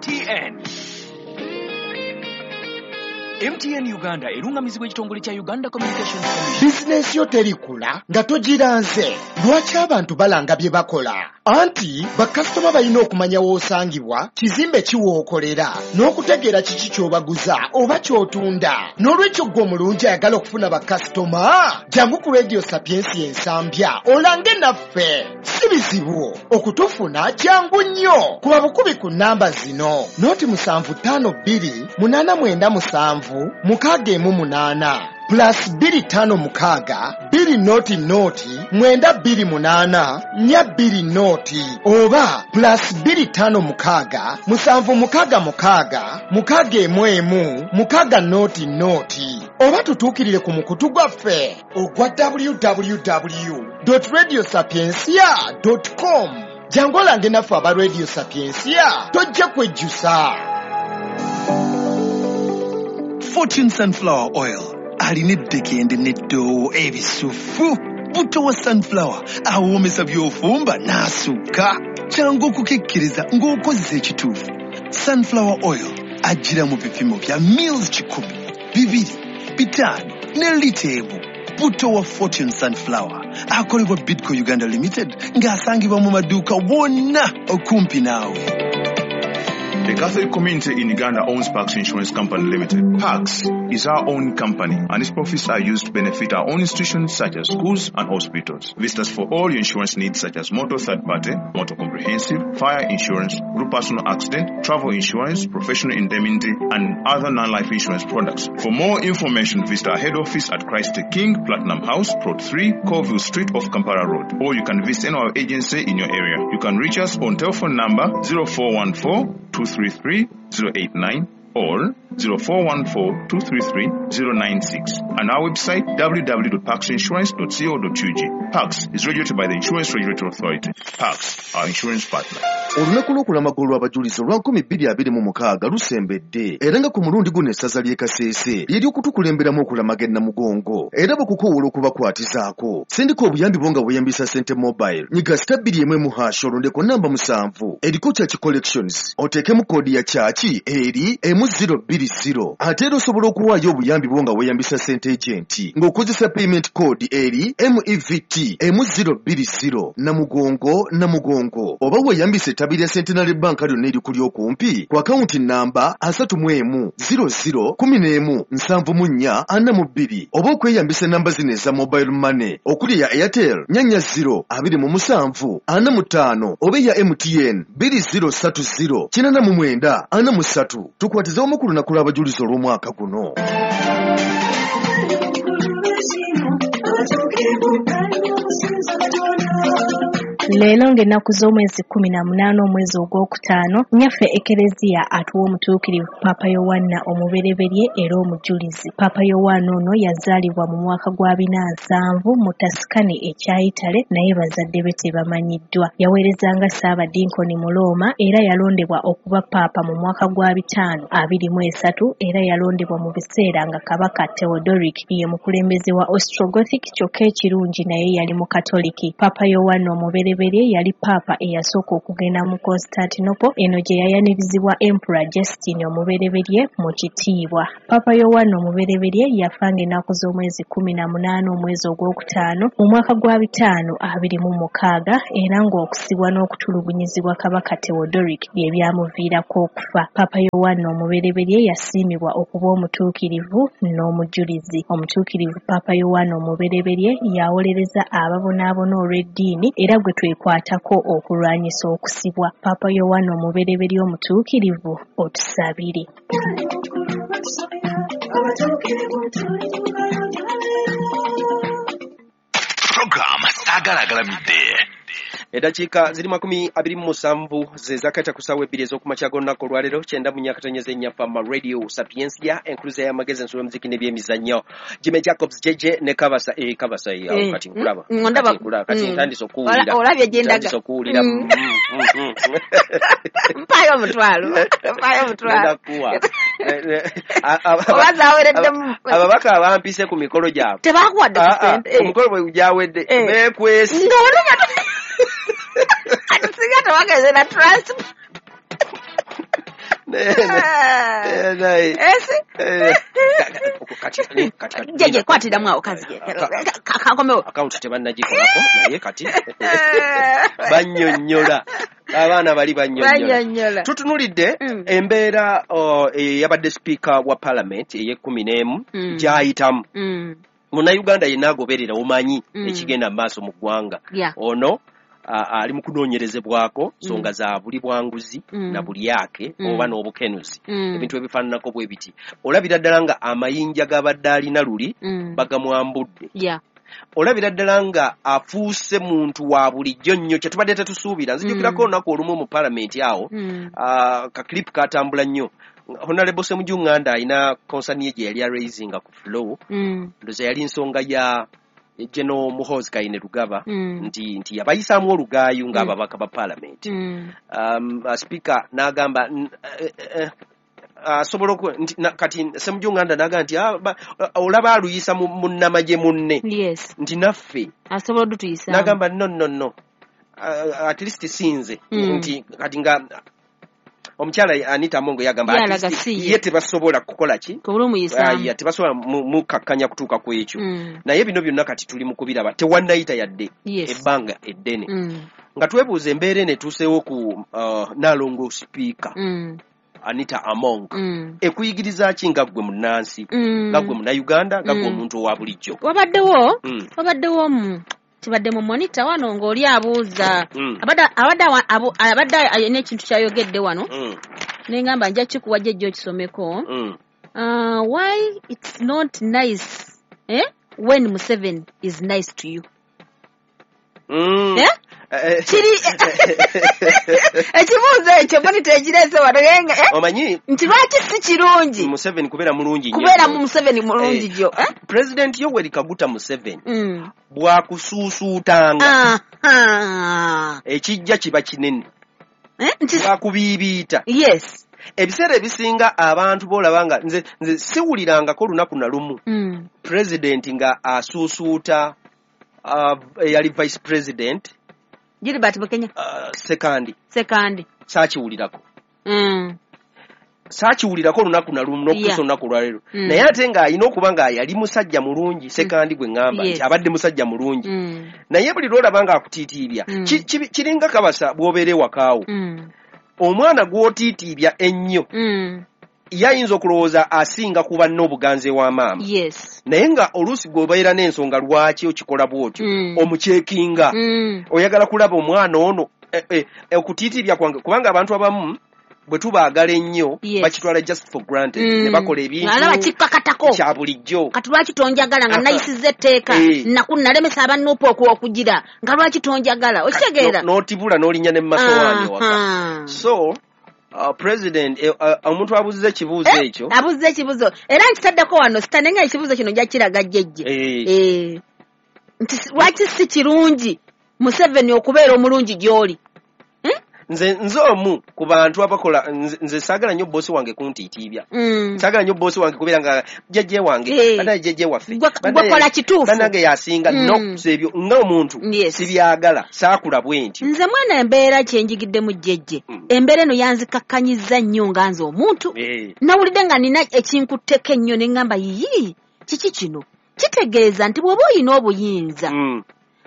MTN. MTN Uganda erungamizibwa ekitongole kya Uganda Communications Commission. Bizinensi yo terikula nga togiranze. Lwaki abantu balanga bye bakola? Anti bakasitoma balina okumanya w'osangibwa, kizimbe ki w'okolera, n'okutegeera kiki ky'obaguza oba ky'otunda. N'olwekyo ggwe omulungi ayagala okufuna bakasitoma, jangu ku Radio Sapientia Ensambya olange naffe. Si bizibu okutufuna, kyangu nnyo. Kuba bukubi ku nnamba zino: 075 897 618 plus 256 2 0 0 928 4 20 oba plus 256 766 611 6 0 0, oba tutuukirire ku mukutu gwaffe ogwa www.radiosapiencia.com. Jangu olange naffe aba Radio Sapiencia, tojja kwejjusa. Fortune Sunflower Oil alina eddekende n'eddoowo ebisufu. Buto wa sunflower awoomesa by'ofumba n'asukka. Kyangu okukikkiriza ng'okozesa ekituufu. Sunflower Oil ajjira mu bipimo bya mils 100, 2, 5 ne lita 1. Buto wa Fortune Sunflower akolebwa Bidco Uganda Limited ng'asangibwa mu maduuka wonna okumpi naawe. The Catholic community in Uganda owns Pax Insurance Company Limited. Pax is our own company, and its profits are used to benefit our own institutions such as schools and hospitals. Visit us for all your insurance needs such as motor third party, motor comprehensive, fire insurance, group personal accident, travel insurance, professional indemnity, and other non-life insurance products. For more information, visit our head office at Christ the King, Platinum House, Plot 3, Colville Street off Kampala Road, or you can visit any of our agency in your area. You can reach us on telephone number 0414 233 089 or 0414 233 096 and our website www.paxinsurance.co.ug. Pax is regulated by the Insurance Regulatory Authority. Pax, our insurance partner. Olunaku lw'okulamaga olw'abajulizi olwa 2026 lusembedde, era nga ku mulundi guno essaza ly'e Kasese lyeri okutukulemberamu okulamaga e Namugongo, era bakukoowoola okubakwatizaako. Sindika obuyambi bwo nga weeyambisa Sente Mobile. Nyiga *211# olondeko namba 7 eriko Church Collections, oteekemu koodi ya church eri M020. Ate era osobola okuwaayo obuyambi bwo nga weeyambisa Sente Agent ng'okozesa payment code eri MEVT M020 Namugongo Namugongo, oba weeyambisa ettabi lya Centenary Bank lyonna erikuli okumpi ku akawunti namba 31 00 11 74 42, oba okweyambisa enamba zino eza mobile money okuli eya Airtel 40 27 45 oba eya MTN 2030 89 43. Tukwatize omu ku lunaku lw'abajulizi olw'omwaka guno. Leero ng'ennaku z'omwezi 18 omwezi ogwokutaano, nnyaffe Ekereziya atuwa omutuukirivu Paapa Yowanna omubereberye era omujulizi. Paapa Yowanna ono yazaalibwa mu mwaka gwa 470 mu Tuscany ekya Italy, naye bazadde be tebamanyiddwa. Yaweerezanga Ssaabadinkoni mu Rooma era yalondebwa okuba Paapa mu mwaka gwa 523, era yalondebwa mu biseera nga Kabaka Theodoric ye mukulembeze wa Ostrogothic, kyokka ekirungi naye yali Mukatoliki. Paapa Yowanna omubereberye yali Paapa eyasooka okugenda mu Constantinople, eno gye yayanirizibwa Emperor Justin omubereberye mu kitiibwa. Paapa Yowanna omubereberye yafa ng'ennaku z'omwezi 18 omwezi ogwokutaano mu mwaka gwa 526, era ng'okusibwa n'okutulugunyizibwa Kabaka Theodoric bye byamuviirako okufa. Paapa Yowanna omubereberye yasiimibwa okuba omutuukirivu n'omujulizi. Omutuukirivu Paapa Yowanna omubereberye yawolereza ababonaabona olw'eddiini era gwe twekwatako okulwanyisa okusibwa. Paapa Yowanna omubereberye omutuukirivu, otusabire. Program Saagala Agalamidde. Eddakiika ziri 27 ze zakata ku ssaawa 2 ez'okumakya g'olunaku olwaleero, 94.4 Fama Radio Sapientia, enkuluza y'amagezi, ensolo, muziki n'ebyemizannyo. Jimmy Jacobs JJ ne Kabasa, Kabasa, awo kati nkulaba. Ndaba. Kati nkulaba, kati ntandise okuwulira. Olabye gye ndaga. Ntandise okuwulira. Mpaayo omutwalo. Mpaayo omutwalo. Ngenda kuwa. Oba zaawereddemu. Ababaka abampise ku mikolo gyabwe. Tebakuwadde ku ssente. Omukolo bwe gyawedde beekwese. Nga wano ati singa tebagenze na transport. Jeje kwatiramu awo kazi kakomewo. Akawunti tebannagikolako naye kati bannyonnyola abaana bali bannyonnyola. Tutunulidde embeera eyabadde sipiika wa parliament ey'e11 gy'ayitamu. Munnayuganda yenna agoberera omanyi ekigenda mu maaso mu ggwanga. Ono ali mu kunoonyerezebwako nsonga za buli bwanguzi na bulyake oba n'obukenuzi, ebintu ebifaananako bwe biti. Olabira ddala nga amayinja g'abadde alina luli bagamwambudde. Olabira ddala nga afuuse muntu wa bulijjo nnyo kye tubadde tetusuubira. Nzijukirako olunaku olumu mu palamenti awo ka clip katambula nnyo. Honorable Ssemujju Nganda alina concern ye gye yali araisinga ku flow. Ndowooza yali nsonga ya General Muhoozi Kainerugaba nti yabayisaamu olugaayu ng'ababaka ba parliament. Speaker n'agamba asobola kati Ssemujju Nganda n'agamba nti olaba aluyisa munnamagye munne. Yes. Nti naffe asobola odutuyisaamu. N'agamba no at least sinze nti kati nga omukyala Anita Amongo yagamba ye tebasobola kukola ki? Tebasobola mukakkanya kutuuka ku ekyo. Naye bino byonna kati tuli mu kubiraba tewannayita yadde ebbanga eddene. Nga twebuuza embeera eno etuuseewo ku Nnaalongo Sipiika Anita Among ekuyigiriza ki nga ggwe munnansi, nga ggwe munnayuganda, nga ggwe omuntu owa bulijjo? Wabaddewo kibadde mu monitor wano ng'oli abuuza abadde alina ekintu kyayogedde wano ne ngamba nja kikuwa jjajja okisomeko. Why it's not nice when Museveni is nice to you. Kiri ekibuuzo ekyo monitor ekireese wano omanyi nti lwaki si kirungi Museveni kubeera mulungi nnyo, kubeera mu Museveni mulungi gyo. President Yoweri Kaguta Museveni bw'akusuusuutanga ekijja kiba kinene, bw'akubiibiita. Yes. Ebiseera ebisinga abantu boolaba nga nze siwulirangako lunaku na lumu president nga asuusuuta eyali vice president Gilbert Bukenya Sekandi saakiwulirako. Saakiwulirako olunaku na lumu n'okutuusa olunaku olwaleero. Naye ate ng'alina okuba nga yali musajja mulungi Sekandi gwe ŋŋamba nti abadde musajja mulungi. Naye buli lw'olaba ng'akutiitiibya kiringa kabasa bw'obeera ewakaawo. Omwana gw'otiitiibya ennyo yayinza okulowooza asinga kuba n'obuganzi ewa maama. Yes. Naye nga oluusi gw'obeera n'ensonga lwaki okikola bw'otyo omukyekinga oyagala kulaba omwana ono okutiitiibya kwange, kubanga abantu abamu bwe tubaagala ennyo bakitwala just for granted ne bakola ebintu alaba kikkakatako kya bulijjo. Kati lwaki tonjagala nga nayisizza etteeka nalemesa abannuupa okugira nga lwaki tonjagala okitegeera n'otibula n'olinnya ne mu masowaani ewaka. So president omuntu abuuziza ekibuuzo ekyo abuuziza ekibuuzo era nkitaddeko wano sitane nga ekibuuzo kino nja kiraga jjejje nti lwaki si kirungi Museveni okubeera omulungi gy'oli. Nze omu ku bantu abakola nze saagala nnyo boosi wange kuntiitiibya. Saagala nnyo boosi wange kubeera nga jjajje wange bannange jjajje waffe gwekola kituufu bannange yasinga n'okusa ebyo ng'omuntu sibyagala saakula bwe ntyo. Nze mwana embeera kyenjigiddemu jjejje embeera eno yanzikakkanyizza nnyo nga nze omuntu nawulidde nga nina ekinkutteko ennyo ne ŋŋamba yiyi kiki kino kitegeeza nti bw'oba oyina obuyinza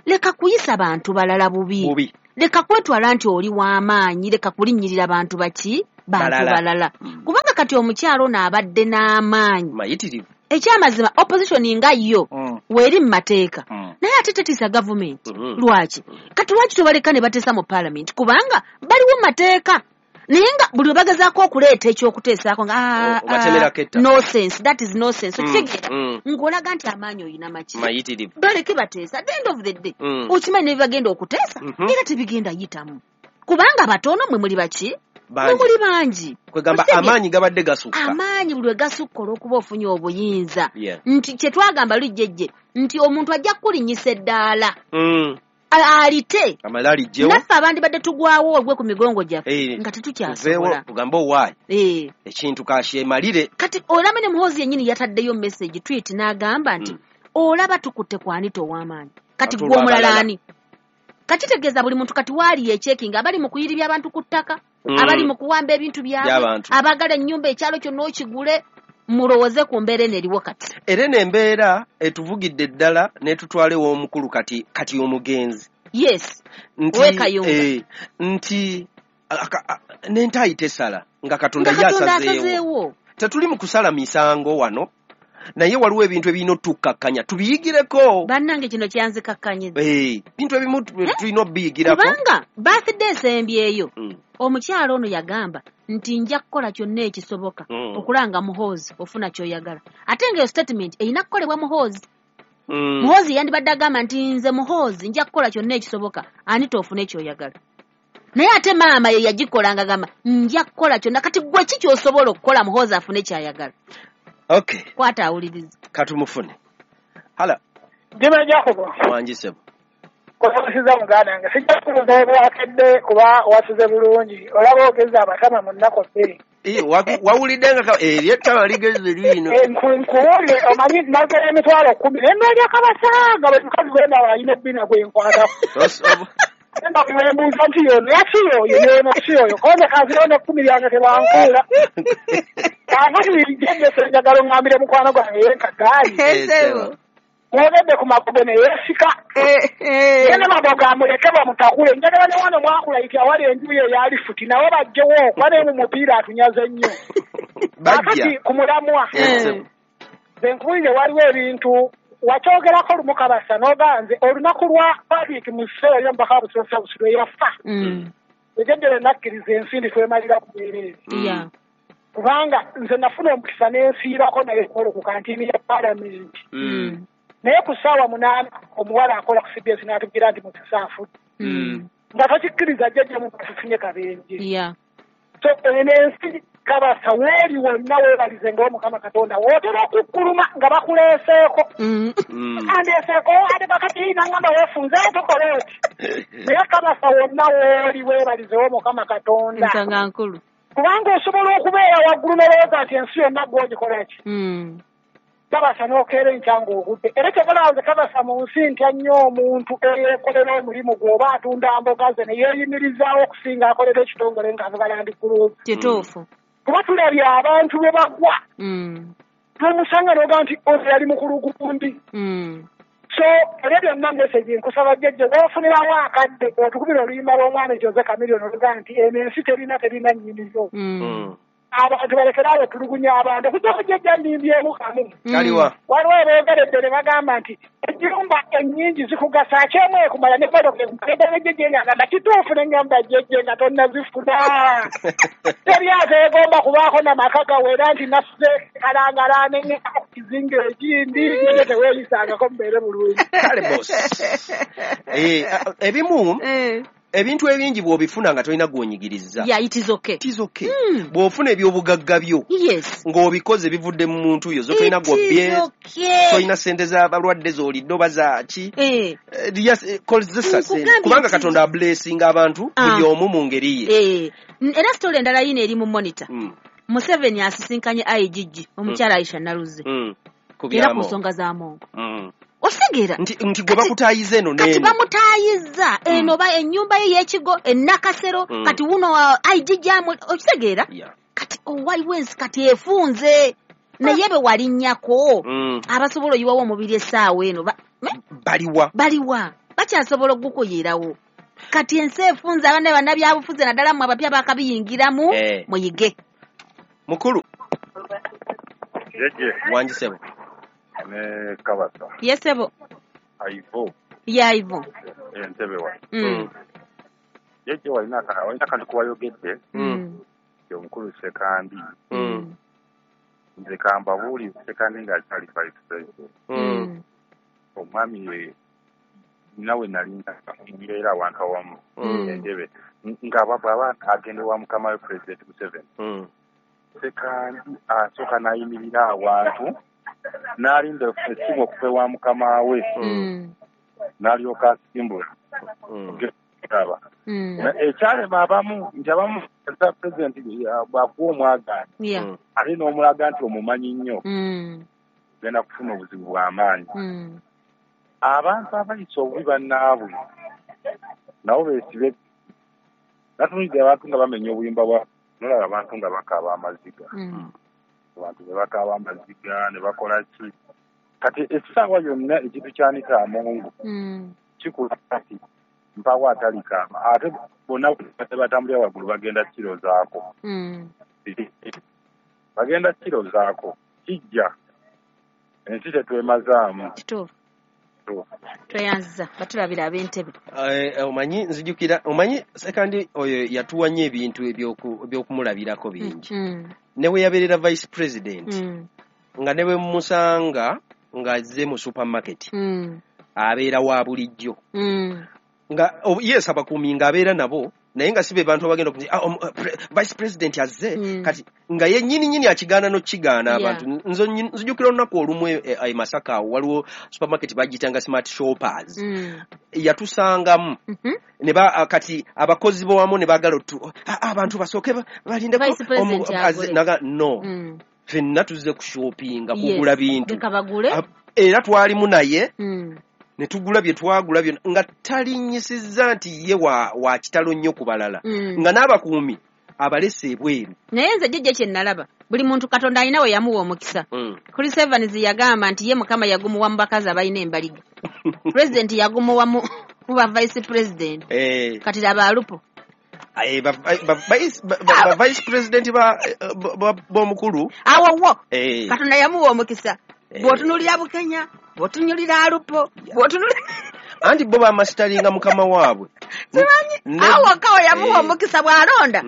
leka kuyisa bantu balala bubi. Leka kwetwala nti oli w'amaanyi, leka kulinnyirira bantu baki bantu balala. Kubanga kati omukyalo ono abadde n'amaanyi mayitirivu. Ekyamazima opposition nga yo weeri mu mateeka naye ate tetiisa gavumenti. Lwaki kati lwaki tobaleka ne bateesa mu parliament? Kubanga baliwo mu mateeka naye nga buli we bagezaako okuleeta ekyokuteesaako nga nonsense, that is nonsense. Okitegeera ng'olaga nti amaanyi oyina maki mayitirivu. Baleke bateesa at the end of the day okimanyi ne bibagenda okuteesa era tebigenda yitamu kubanga batono mwe muli baki mwe muli bangi. Kwegamba amaanyi gabadde gasukka, amaanyi buli we gasukka olw'okuba ofunye obuyinza nti kye twagamba lujjejje nti omuntu ajja kukulinnyisa eddaala alite naffe abandi badde tugwawo ogwe ku migongo gyaffe nga tetukyasobola tugambe owaayi ekintu kakyemalire. Kati olaba ne Muhoozi yennyini yataddeyo message tweet n'agamba nti olaba tukutte ku Anita ow'amaanyi kati gwe omulala ani? Kakitegeeza buli muntu kati waali yekyekinga abali mu kuyiribya abantu ku ttaka. Abali mu kuwamba ebintu byabwe, abaagala ennyumba ekyalo kyonna okigule, mulowooze ku mbeera eno eriwo kati. Era eno embeera etuvugidde ddala n'etutwala ew'omukulu kati omugenzi. Yes. Nti, nti n'entaayi tesala nga Katonda yasazeewo. Tetuli mu kusala misango wano, naye waliwo ebintu ebirina otukkakkanya tubiyigireko. Bannange kino kyanzikakkanyiza. Ebintu ebimu tulina obiyigirako. Kubanga birthday esembyeyo omukyalo ono yagamba nti nja kukola kyonna ekisoboka okulanga Muhoozi ofuna ky'oyagala. Ate ng'eyo statement erina kukolebwa Muhoozi. Muhoozi yandibadde agamba nti nze Muhoozi nja kukola kyonna ekisoboka ani toofune ky'oyagala. Naye ate maama ye yagikolanga agamba nja kukola kyonna, kati gwe ki ky'osobola okukola Muhoozi afune ky'ayagala? Okay. Kwata awuliriza. Katumufune. Hala. Jema Jacobo. Wangi sebo. Kusabisiza muganda wange. Sijja kubuuza bwakedde kuba wasuze bulungi. Olaba ogeza abatama mu nnaku bbiri. Wawulidde nga eryettama ligeze lino. Nkuwulire omanyi nagera 110,000. Naye nalya kabasanga bwe mukazi gwe ndaba alina ebbina gwe nkwatako. Mbuuza nti yono yaki oyo yono si oyo konze kanzirawo n'ekkumi lyange tebankuula. Kaakati jjajja njagala oŋŋambire mukwano gwange yenkagaali. Mwogedde ku magogo ne yeesika. Ye ne magogo amuleke bamutakule. Njagala ne wano mwakulayiti awali enju ye eya lifuti nawe bajjewo okuba naye mu mupiira atunyaze nnyo. Kaakati ku mulamwa. Nze nkubuulire waliwo ebintu wakyogerako lumu Kabasa n'oganze olunaku lwa Patrick Museero y'omubaka wa Busiro South lwe yafa. Ejjajja nakkiriza ensi ndi twemalira ku bwereere. Kubanga nze nafuna omukisa n'ensiirako naye ku kantiini ya Paalamenti. Naye ku ssaawa 8 omuwala akola ku CBS n'atubwira nti Mukisa afudde. Nga tokikkiriza jjajja mutufunye kabenje. So eno ensi Kabasa weeri wonna weebalize ng'Omukama Katonda wootera okukkuluma nga bakuleeseeko. Andeeseeko ate bakati nangamba weefunze tukola oti. Naye Kabasa wonna wooli weebalizewo Mukama Katonda. Nsonga nkulu. Kubanga osobola okubeera waggulu n'olowooza nti ensi yonna gw'ogikola ki. Kabasa n'okeera enkya ng'ogudde. Era ky'obalowooza Kabasa mu nsi ntya nnyo omuntu eyeekolera omulimu gwe oba atunda mboga ze ne yeeyimirizaawo okusinga akolera ekitongole ng'avuga Land Cruiser. Kituufu. Kuba tulabye abantu bwe bagwa. N'omusanga n'oga nti ono yali mukulu gundi. So ebyo byonna message nkusaba jjajja bw'ofunirawo akadde otukubira oluyimba lw'omwana Jose Chameleone oluga nti eno ensi terina nnyiniyo. Abantu balekerawo tulugunya abantu okujjako jjajja nnimbyemu kamu. Kaliwa. Waliwo aboogeredde ne bagamba nti ennyumba ennyingi zikugasa akyemu ekumala ne mmotoka ekumala jjajja ng'agamba kituufu ne ngamba jjajja nga tonnazifuna. Teri ateegomba kubaako n'amaka gawera nti nasuze kalangala ne ngenda ku kizinga ekindi jjajja teweeyisangako mubeere bulungi. Kale boss. Ebimu ebintu ebingi bw'obifuna nga tolina gw'onyigiriza. Yeah, it is okay. It is okay. Bw'ofuna ebyobugagga byo. Yes. Ng'obikoze bivudde mu muntu yo, zo tolina gw'obbye. Okay. Tolina ssente z'abalwadde z'olidde oba zaaki. Kozesa ssente. Kubanga Katonda ablessinga abantu buli omu mu ngeri ye. Era story endala yino eri mu monitor. Museveni asisinkanye IGG omukyala Aisha Naluze. Era ku nsonga za Mungu. Osegera nti gwe bakutaayiza eno n'eno. Kati bamutaayiza eno ba ennyumba ye y'ekigo ennakasero kati wuno IGG okitegeera. Kati waliwo ensi kati efunze naye be walinnyako abasobola oyiwawo omubiri essaawa eno baliwa bakyasobola okugukuyirawo. Kati ensi efunze abaana bannabyabufuzi naddala mmwe abapya baakabiyingiramu muyige. Mukulu wangi ssebo. Ne Kabasa. Yes sebo. Aivo. Ya Aivo. Entebe wa. Jjajja walina akantu kuwayogedde. Omukulu Ssekandi. Nze kambabuulire Ssekandi ng'akyali vice president. Omwami nawe nali mbeera awantu awamu entebe nga bw'aba agenda ewa mukama we President Museveni. Ssekandi asooka n'ayimirira awantu n'alinda essimu okuva ewa mukama we n'alyoka asimbula. Ekyalema abamu nti abamu pulezidenti bw'akuwa omwagaanya ate n'omulaga nti omumanyi nnyo ogenda kufuna obuzibu bw'amaanyi. Abantu abayisa obubi bannaabwe nabo beesibe. Natunulidde abantu nga bamenya obuyumba bwa nolaba abantu nga bakaaba amaziga. Abantu ne bakaaba amaziga ne bakola ki. Kati essaawa yonna ekintu kyanika amongo kikula kati mpawo atalikaama ate bonna batambulira waggulu bagenda kirozaako. Bagenda kirozaako kijja ensi tetwemazaamu. Kituufu. Tweyanziza batulabira ab'entebe. Omanyi nzijukira omanyi Sekandi oyo yatuwa nnyo ebintu ebyokumulabirako bingi. Ne we yabeerera vice president nga ne bwe musanga ng'azze mu supermarket abeera wa bulijjo. Nga yes abakuumi ng'abeera nabo naye nga si be bantu abagenda okuti vice president azze kati nga ye nnyini nnyini akigaana n'okigaana abantu. Nze nzijukira olunaku olumu e Masaka awo waliwo supermarket bagiyitanga Smart Shoppers. Yatusangamu ne kati abakozi bo wamu ne baagala abantu basooke balindeko no ffenna tuzze kushoppinga kugula bintu era twalimu naye ne tugula bye twagula byonna nga talinnyisizza nti ye wa kitalo nnyo ku balala nga n'abakuumi abalese ebweru. Naye nze jjajja kye nalaba buli muntu Katonda alina we yamuwa omukisa. Chris Evans yagamba nti ye Mukama yagumuwa mu bakazi abalina embaliga. President yagumuwa mu ba vice president. Kati laba Alupo. Ba vice president b'omukulu awo wo Katonda yamuwa omukisa. Bw'otunuulira Bukenya, bw'otunuulira Alupo, bw'otunuulira anti bo bamasitalinga mukama waabwe. Simanyi awo kawo yamuwa omukisa bw'alonda.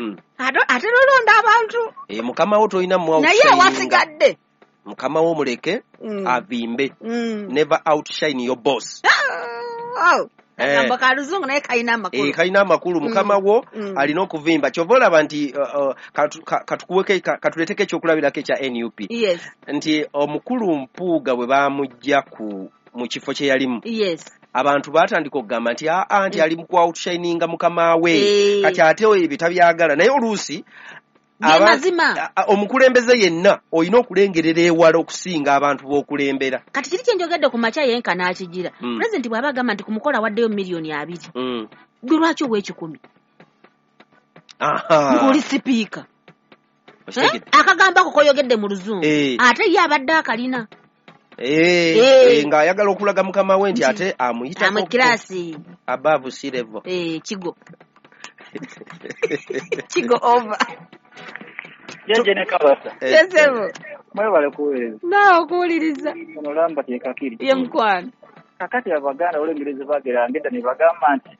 Ate n'olonda abantu. Mukama wo tolina muwa naye wasigadde. Mukama wo muleke avimbe. Never outshine your boss. Akamba ka luzungu naye kalina amakulu. Kalina amakulu. Mukama wo alina okuvimba. Kyova olaba nti katuleeteko ekyokulabirako ekya NUP. Yes. Nti omukulu Mpuuga bwe baamugja mu kifo kye yalimu. Yes. Abantu baatandika okugamba nti nti ali mu ku-outshininga mukama we. Kati ate ebyo tabyagala. Naye oluusi omukulembeze yenna olina okulengerera ewala okusinga abantu b'okulembera. Kati kiri kye njogedde ku makya yenka n'akigira. Pulezidenti bw'aba agamba nti ku mukolo awaddeyo 20,000,000. Gwe lwaki owa 1,000? Ng'oli sipiika. Akagamba ako koyogedde mu luzungu. Ate ye abadde akalina. Ng'ayagala okulaga mukama we nti ate amuyitako kirasi above sea level. Kigo. Kigo over. Jeje ne Kabasa. Yesebo. Mwebale kuweereza. Naawe okuwuliriza. Ono lamba ye Kakiri. Ye mukwano. Kakati Abaganda olw'Engereza bageranga edda ne bagamba nti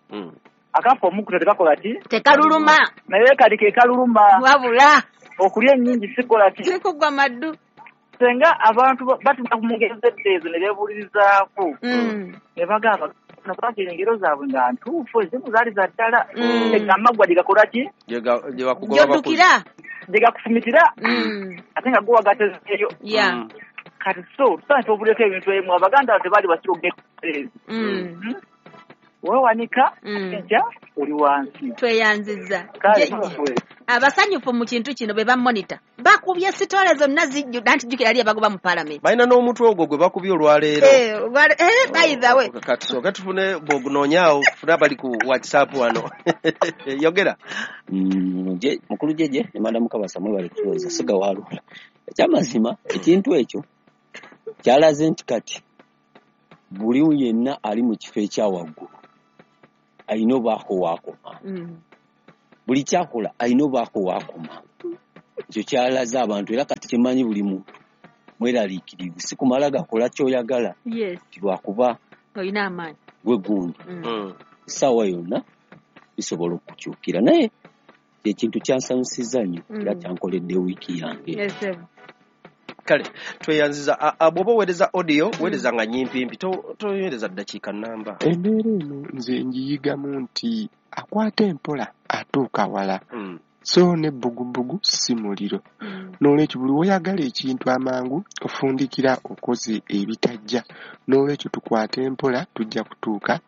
akafa omukuta tekakola ki? Tekaluluma. Naye kati ke kaluluma. Wabula. Okulya ennyingi sikola ki? Sikugwa maddu. Senga abantu batunda ku ngero z'edda ne beebuulirizaako. Ne bagamba bagira engero zaabwe nga ntuufu ezimu zaali za ddala. Amaggwa gye gakola ki? Gy'oddukira. Gye gakufumitira. Ate nga go wagatezeeyo. Kati so tusaana tubuulireko ebintu ebimu. Abaganda tebaali basiru okugenda. Weewanika enkya oli wansi. Tweyanzizza. Abasanyufu mu kintu kino be bamonita. Bakubye sitole zonna zijjudde anti jjukira ali abagoba mu paalamenti. Balina n'omutwe ogwo gwe bakubye olwaleero. By the way. Katusooke tufune bw'ogunoonyaawo tufune abali ku WhatsApp wano. Yogera. Mukulu Jeje ne Madamu Kabasa mwebale kutuweereza siga waalula. Ekyamazima ekintu ekyo kyalaze nti kati buli yenna ali mu kifo ekya waggulu alina obaako waakoma. Buli kyakola alina obaako waakoma. Ekyo kyalaze abantu era kati kimanyi buli muntu mweraliikirivu si kumala gakola ky'oyagala. Yes. Ti lwakuba olina amaanyi gwe gundi. Essaawa yonna bisobola okukyukira naye ekintu kyansanyusizza nnyo era kyankoledde wiiki yange. Yes. Kale tweyanziza. Bw'oba oweereza audio weereza nga nyimpimpi toweereza ddakiika nnamba. Embeera eno nze ngiyigamu nti akwata empola atuuka wala. So n'ebbugubugu si muliro. N'olwekyo buli lw'oyagala ekintu amangu ofundikira okoze ebitajja. N'olwekyo tukwate mpola tujja kutuuka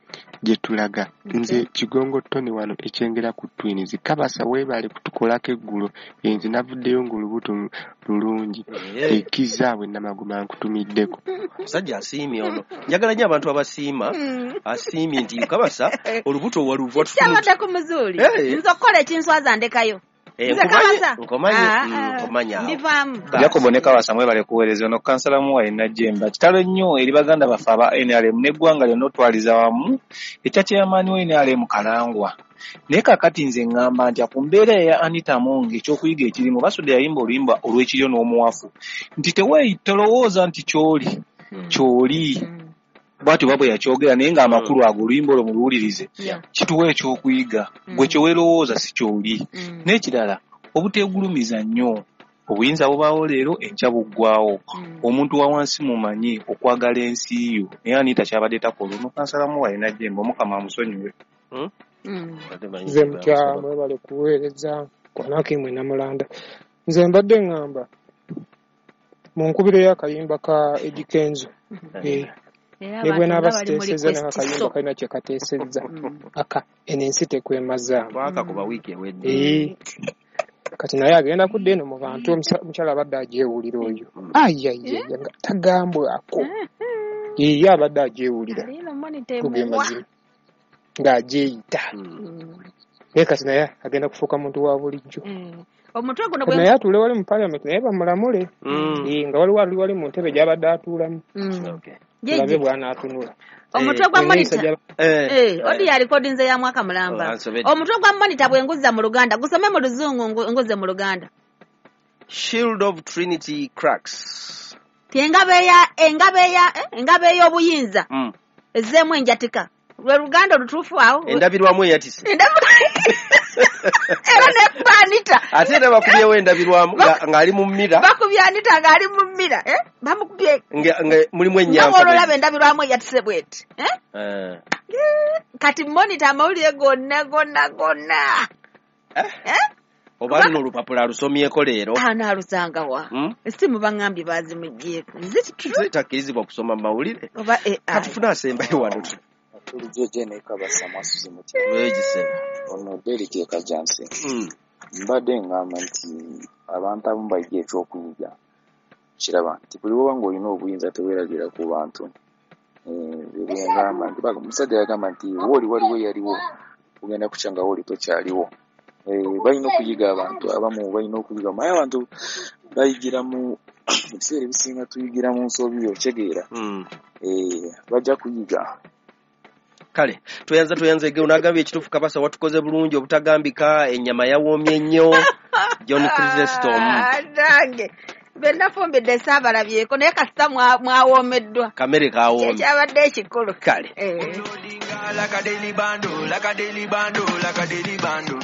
gye tulaga. Nze Kigongo Tony wano ekyengera ku Twins. Kabasa weebale kutukolako eggulo. Nze navuddeyo ng'olubuto lulungi. Ekizaabwe Namagoma nkutumiddeko. Musajja asiimye ono. Njagala nnyo abantu abasiima. Asiimye nti Kabasa olubuto waluva Kyabadde ku muzuuli. Nze okukola ekinswaza ndekayo. Nkomanye ndivaamu. Jacob ne Kabasa mwebale kuweereza. Ono kansala Muwayi Najjemba. Kitalo nnyo eri baganda baffe aba NRM n'eggwanga lyonna otwaliza wamu ekya chairman wa NRM Kalangwa. Naye kaakati nze ŋŋamba nti ku mbeera eya Anita Among ekyokuyiga ekirimu Basudde yayimba oluyimba olw'ekiryo n'omuwafu nti tolowooza nti ky'oli ky'oli bw'atyo oba bwe yakyogera naye ng'amakulu ago oluyimba olwo muluwulirize kituwa ekyokuyiga gwe kye weerowooza si ky'oli. N'ekirala obuteegulumiza nnyo obuyinza bubaawo leero enkya buggwawo. Omuntu wa wansi mumanyi okwagala ensi yo naye Anita kyabadde takola. Ono kansala Muwayi Najjemba Omukama amusonyiwe. Nze mutya mwebale kuweereza kwanaki mwe Namulanda. Nze mbadde ŋŋamba mu nkubiro y'akayimba ka Eddy Kenzo ne bwe naaba siteesezza n'akayimba kalina kye kateesezza aka eno ensi tekwemazaamu. Twakakuba wiiki ewedde. Kati naye agenda kudda eno mu bantu omukyala abadde agyewulira oyo ayayaya nga tagambwako ye abadde agyewulira kugemazima ng'agyeyita naye kati naye agenda kufuuka muntu wa bulijjo. Omutwe guno naye atuule wali mu parliament naye bamulamule nga waliwo ali wali mu ntebe gy'abadde atuulamu tulabe bw'anaatunula. Omutwe gwa monitor odi ya recording ya mwaka mulamba. Omutwe gwa monitor bwe nguzza mu Luganda gusome mu Luzungu nguze mu Luganda. Shield of Trinity cracks. Engabe ey'obuyinza ezzeemu enjatika. Lwe Luganda olutuufu awo. Endabirwamu eyatise. Era nekuba Anita. Ate era bakubyewo endabirwamu ng'ali mu mmira. Bakubye Anita ng'ali mu mmira. Bamukubye. Nga mulimu ennyampa. Nga olaba endabirwamu eyatise bw'eti. Kati monitor amawulire gonna gonna gonna. Oba luno olupapula alusomyeko leero. Anaalusanga wa? Essimu baŋŋambye baazimuggyeko. Nze takkirizibwa kusoma mawulire. Oba AI. Katufune asembayo wano. Jeje ne Kabasa mwasuze mutya. Ono Derrick Kajansi. Mbadde ngamba nti abantu abamu bayiga ekyokuyiga. Kiraba nti buli woba ng'olina obuyinza teweeragira ku bantu. Ngamba nti omusajja yagamba nti wooli waliwo eyaliwo ogenda kukya nga wooli tokyaliwo. Balina okuyiga abantu abamu balina okuyiga naye abantu bayigira mu ebiseera ebisinga tuyigira mu nsobi okitegeera. Bajja kuyiga. Kale tweyanza ege unagambye ekituufu Kabasa watukoze bulungi obutagambika ennyama yawoomye nnyo. John Chrysostom. Nange be nafumbidde saabalabyeko naye kasita mwawoomeddwa. Kamere kawoomye. Kyabadde ekikulu. Kale. Like a daily bando, like a daily bando, like a daily bando.